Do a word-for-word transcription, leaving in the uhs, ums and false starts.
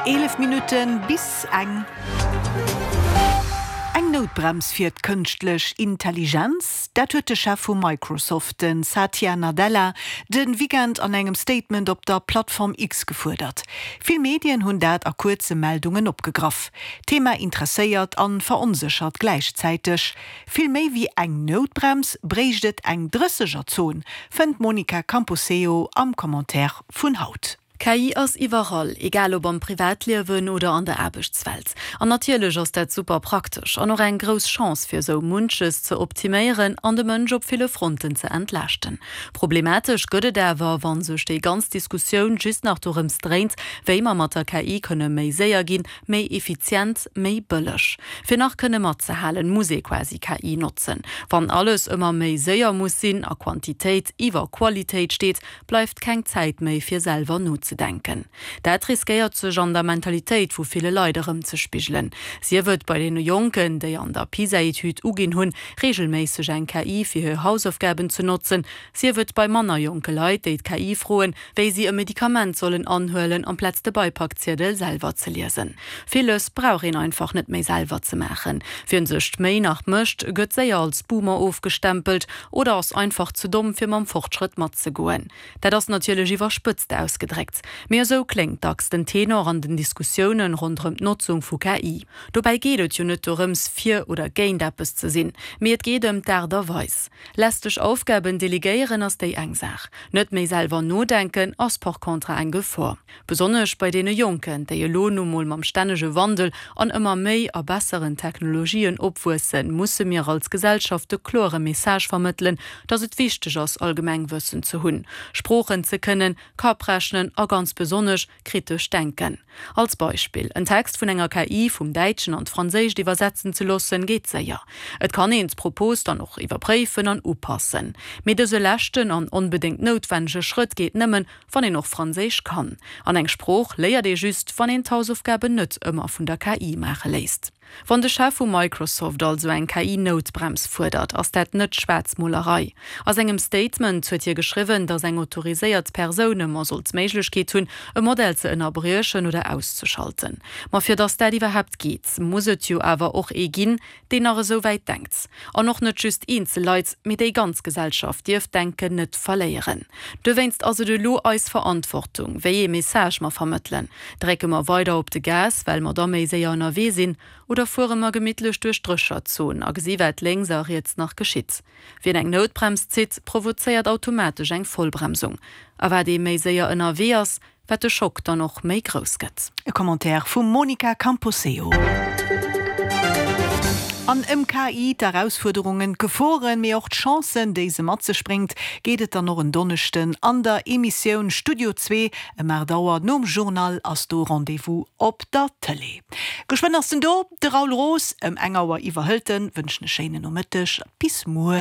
Eelef Minutten bis eng. Eng Noutbrems fir d'kënschtlech Intelligenz, dat huet de Chef vu Microsoft, de Satya Nadella, de Weekend an engem Statement op der Plattform X gefuerdert. Vill Medien hunn dat a kuerze Meldungen opgegraff. D'Thema interesséiert an veronséchert gläichzäiteg. Vill méi wéi eng Noutbrems bréicht et eng Drëssegerzon, fënnt d'Monica Camposeo am Commentaire vun haut. K I ass iwwerall, egal ob am Privatliewen oder an der Aarbechtswelt. An natierlech ass dat super praktesch an och eng grouss Chance fir sou munches ze optiméieren an de Mënsch op ville Fronten ze entlaaschten. Problematesch gëtt et awer, wann sech déi ganz Diskussioun just nach dorëms dréint, wéi mer mat der K I kënne méi séier ginn, méi effizient, méi bëlleg. Fir nach kënne matzehalen, muss ee quasi K I notzen. Wann alles ëmmer méi séier muss sinn a Quantitéit iwwer Qualitéit steet, bleift keng Zäit méi fir selwer nozedenken. Dat riskéiert sech an der Mentalitéit vu ville Leit erëmzespigelen. Sief et bei deene Jonken, déi an der PISA-Etüd uginn hunn, reegelméisseg eng K I fir hir Hausaufgaben ze notzen, sief et bei manner jonke Leit, déi d'K I froen, wéi si e Medikament sollen anhuelen, amplaz de Beipakziedel selwer ze liesen. Villes brauch een einfach net méi selwer ze maachen. Wien sech d'Méi nach mécht, gëtt séier als Boomer ofgestempelt oder ass einfach ze domm fir mam Fortschrëtt matzegoen. Dat ass natierlech iwwerspëtzt ausgedréckt, mee esou kléngt dacks den Tenor an den Diskussiounen ronderëm d'Notzung vu K I. Dobäi geet et jo net dorëms, fir oder géint eppes ze sinn, mee et geet ëm d'Aart a Weis. Lästeg Aufgaben delegéieren ass déi eng Saach, net méi selwer nodenken ass par contre eng Gefor. Besonnesch bei deene Jonken, déi elo nu mol mam stännege Wandel an ëmmer méi a besseren Technologien opwuessen, musse mir als Gesellschaft de klore Message vermëttelen, dass et wichteg ass, Allgemengwëssen ze hunn, Sproochen ze kënnen, Kapprechnen a ganz besonnesch kritesch denken. Als Beispill, En Text vun enger K I vum Däitschen an d'Franséischt iwwersetzen ze loossen, geet séier. Et kann een d'Propos dann och iwwerpréifen an upassen. Mee dëse leschten an onbedéngt noutwennege Schrëtt geet nëmmen, wann een och Franséisch kann. An eng Sprooch léiert ee just, wann een d'Hausaufgaben net ëmmer vun der K I maache léisst. Wann de Chef vu Microsoft also eng K I-Noutbrems fuerdert, ass dat net Schwaarzmolerei. A sengem Statement huet hie geschriwwen, datt eng autoriséiert Persoun ëmmer soll d'Méiglechkeet hunn, e Modell ze ënnerbriechen oder auszeschalten. Ma fir datt dat iwwerhaapt geet, muss et jo awer och ee ginn, deen nach esou wäit denkt. An och net just eenzel Leit, mee déi ganz Gesellschaft dierf d'Denken net verléieren. Dowéinst ass et elo eis Verantwortung, wéi ee Message mer vermëttelen. Drécke mer weider op de Gas, well mer da méi séier ënnerwee sinn, oder fuere mer gemittlech duerch d'Drécherzon a gesi wat lénks a riets nach geschitt? Wien eng Noutbrems zitt, provozéiert automatesch eng Vollbremsung. A wat ee méi séier ënnerwee ass, wat de Schock dann och méi grouss gëtt. E Commentaire vum Monica Camposeo. An ëm K I, d'Erausfuerderungen, d'Geforen, mee och d'Chancen, déi se mat sech bréngt, geet et dann och en Donneschden an der Emissioun Studio Zwee ëm aacht Auer nom Journal ass do Rendez-vous op der Tëlee. Geschwënn ass en do, de Raoul Roos, ëm eng Auer iwwerhëlt en. Wënschen e schéinen Nomëtteg, bis muer.